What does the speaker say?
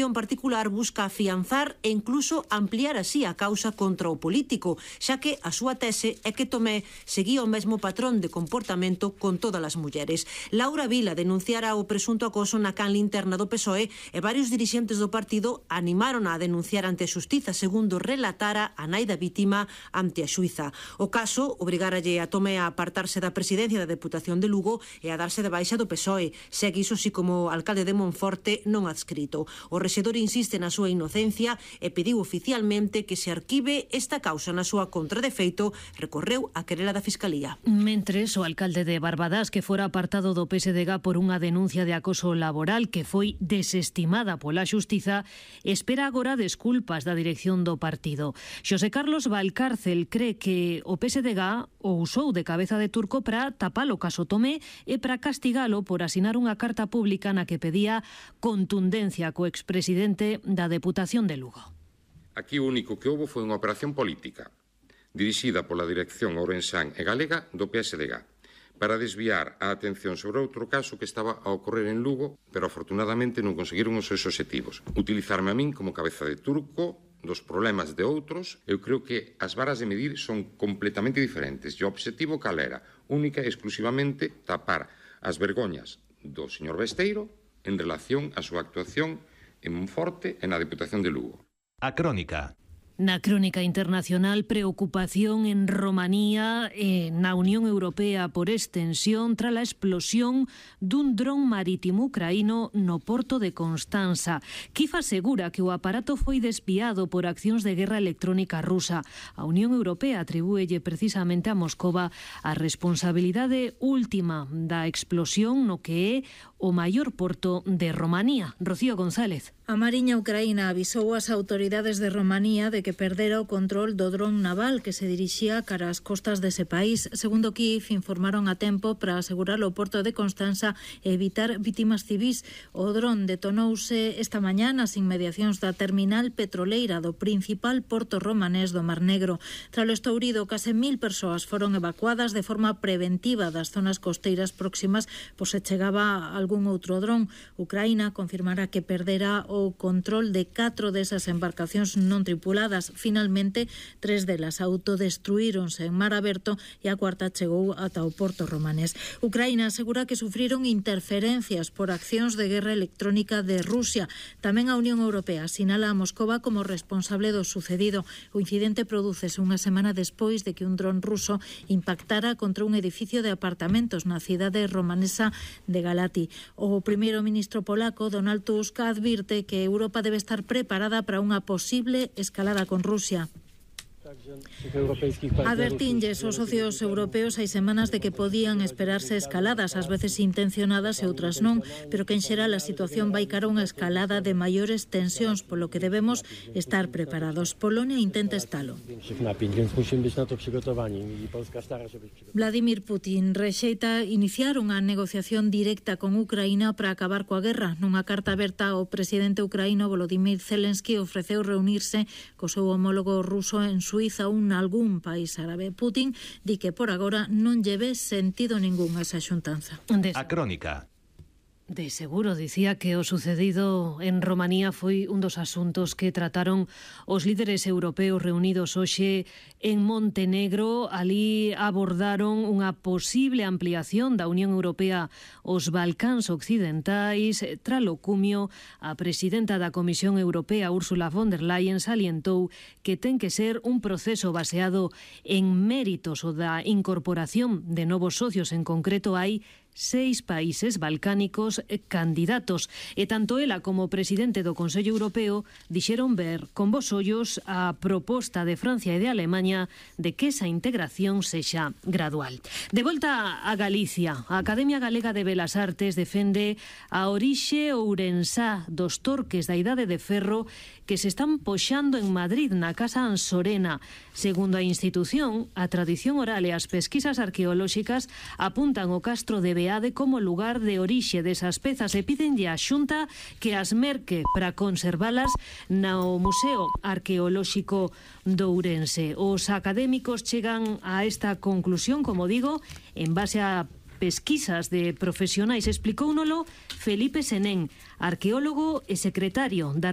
en particular busca afianzar e incluso ampliar así a causa contra o político, xa que a súa tese é que Tomé seguía o mesmo patrón de comportamento con todas as mulleres. Laura Vila denunciara o presunto acoso na canle interna do PSOE e varios dirixentes do partido animaron a denunciar ante a xustiza, segundo relatara a nai da vítima ante a xuíza. O caso obrigaralle a Tomé a apartarse da presidencia da Deputación de Lugo e a darse de baixa do PSOE, segue iso si como alcalde de Monforte non adscrito. O rexedor insiste na súa inocencia e pediu oficialmente que se arquive esta causa na súa contra. De feito, recorreu a querela da Fiscalía. Mentres, o alcalde de Barbadas, que fora apartado do PSDG por unha denuncia de acoso laboral que foi desestimada pola xustiza, espera agora desculpas da dirección do partido. Xosé Carlos Valcárcel cree que o PSDG o usou de cabeza de turco para tapar o caso Tomé e para castigalo por asinar unha carta pública na que pedía contundencia co expresidente da Deputación de Lugo. Aquí o único que houbo foi unha operación política dirixida pola dirección ourensán e galega do PSDG para desviar a atención sobre outro caso que estaba a ocorrer en Lugo, pero afortunadamente non conseguiron os seus obxectivos. Utilizarme a min como cabeza de turco dos problemas de outros. Eu creo que as varas de medir son completamente diferentes. E o obxectivo cal era? Única e exclusivamente tapar as vergoñas do señor Besteiro en relación á súa actuación en Monforte e na Deputación de Lugo. A Crónica. Na crónica internacional, preocupación en Romanía e na Unión Europea por extensión tras a explosión dun dron marítimo ucraíno no porto de Constanza. Kiev asegura que o aparato foi desviado por accións de guerra electrónica rusa. A Unión Europea atribúelle precisamente a Moscova a responsabilidade última da explosión no que é o maior porto de Romanía. Rocío González. A Mariña Ucraína avisou as autoridades de Romanía de que perdera o control do dron naval que se dirixía cara ás costas dese país. Segundo Kiev, informaron a tempo para asegurar o porto de Constanza e evitar vítimas civís. O dron detonouse esta mañá nas inmediacións da terminal petroleira do principal porto romanés do Mar Negro. Tras o estourido, case 1000 persoas foron evacuadas de forma preventiva das zonas costeiras próximas por se chegaba algún outro dron. Ucraína confirmará que perdera o control de 4 desas embarcacións non tripuladas. Finalmente, 3 delas autodestruíronse en mar aberto e a cuarta chegou ata o porto romanés. Ucraína asegura que sufriron interferencias por accións de guerra electrónica de Rusia. Tamén a Unión Europea sinala a Moscova como responsable do sucedido. O incidente prodúcese unha semana despois de que un dron ruso impactara contra un edificio de apartamentos na cidade romanesa de Galati. O primeiro ministro polaco, Donald Tusk, advirte que Europa debe estar preparada para unha posible escalada con Rusia. Advertinlles os socios europeos hai semanas de que podían esperarse escaladas, ás veces intencionadas e outras non, pero que en xeral a situación vai cara a unha escalada de maiores tensións, polo que debemos estar preparados. Polonia intenta estalo. Vladimir Putin rexeita iniciar unha negociación directa con Ucraína para acabar coa guerra. Nunha carta aberta, o presidente ucraíno Volodymyr Zelensky ofreceu reunirse co seu homólogo ruso en Suiza ou nalgún país árabe. Putin di que por agora non lle ve sentido ningún a esa xuntanza. A Crónica. De seguro, dicía que o sucedido en Romanía foi un dos asuntos que trataron os líderes europeos reunidos hoxe en Montenegro. Alí abordaron unha posible ampliación da Unión Europea aos Balcáns occidentais. Tralo cumio, a presidenta da Comisión Europea, Ursula von der Leyen, salientou que ten que ser un proceso baseado en méritos o da incorporación de novos socios. En concreto, hai 6 países balcánicos candidatos e tanto ela como o presidente do Consello Europeo dixeron ver con bos ollos a proposta de Francia e de Alemaña de que esa integración sexa gradual. De volta a Galicia, a Academia Galega de Belas Artes defende a orixe ourensá dos torques da Idade de Ferro que se están poxando en Madrid, na Casa Ansorena. Segundo a institución, a tradición oral e as pesquisas arqueolóxicas apuntan o castro de Beade como lugar de orixe desas pezas e pidenlle á Xunta que as merque para conservalas no Museo Arqueolóxico de Ourense. Os académicos chegan a esta conclusión, como digo, en base a pesquisas de profesionais. Explicóunolo Felipe Senén, arqueólogo e secretario da